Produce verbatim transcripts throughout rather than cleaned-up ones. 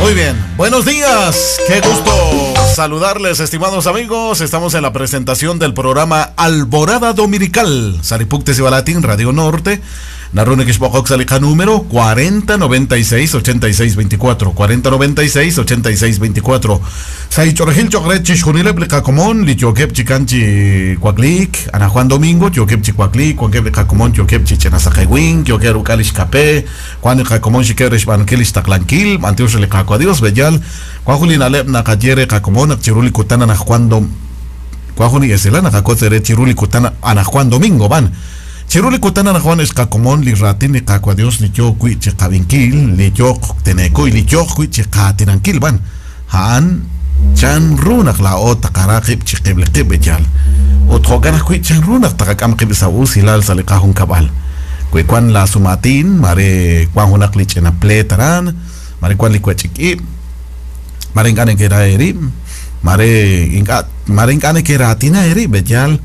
Muy bien, buenos días, qué gusto saludarles, estimados amigos. Estamos en la presentación del programa Alborada Dominical, Saripuk Tesibalatin, Radio Norte, Narune Kixbokok Salija número cuarenta noventa y seis ochenta y seis veinticuatro, cuarenta noventa y seis ochenta y seis veinticuatro. Saichorejil Chogret Chishunile Plicakomón, Lichokep Chicanchi Cuaclic, Ana Juan Domingo, Chokep Chicuaclic, Juan Keblicakomón, Chokep Chichenazajewin, Chokeru Kalish Capé, Juan Jacomón Chiqueresh Banquilish Taclanquil, Mantius Licacuadios, Bellal, Juan Julina Lepna Cayere Jacomón, Chiruli Cutana Ana Juan Dom, Juan Juli Eselana Jacotere Chiruli Cutana Ana Juan Domingo van. Chiruli Cutana Ana Juan Escacomón, Liratin, Licacuadios, Lichocui, Chicavinquil, Lichoc, Teneco y Lichocui, Chicatinanquil van. Han Chan Runak la Ota Caraqib, Chiquibliqib, Bellal. Otro Chan Runak Takakam Kibsaus, Hilal Salicajun Cabal. Cuecuan la Sumatín, Mare Juan Junaklich en Apletarán, Mare Juan Licuachiqui, Mare Ingane que era Eri, Mare Inga, Mare Ingane que era Atina Eri, Bellal,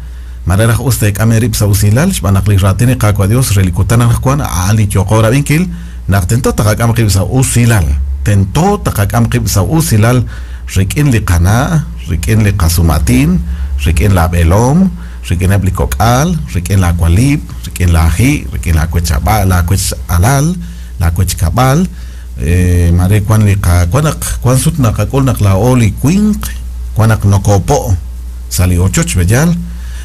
Mare Ustek Amerip Sausilal, Banakli Ratine, Cacua Dios, Relicutana Juan, Ali Chocora Vinkil, Nartento Takakam Kibsausilal, Tento Takakam Kibsausilal, Rikin Licana, Rikin Licasumatín, Rikin la Belom, Rikin Eblicocal, Rikin la Cualip, Rikin la Ají, Rikin la Cuechabal, la Cuechalal, la Cuechcabal, eh, Mare Juan Lica, Juanak, Juan Sutnak, Colnak la Oli Quink, Juanak Nocopo, Sali Ochoch Bellal,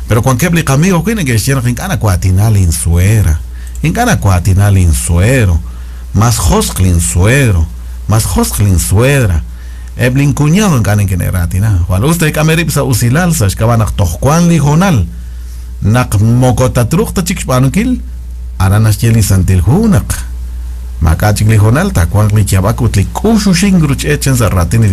pero Juan Keblic amigo, Queen que Incana Cuatinal Insuera, Incana Cuatinal Insuero, más Josclin Suero, más Josclin Suedra. Eblin cuñado en canen que neratina. Juan usted cameripsa usilal, sashkabanak tojuan lijonal. Nak mokotatruj tachikxpanukil, aranas yeli santiljunak. Makachik lijonal, tacuan lichiabakutli kuxuxingruch echen zarratini.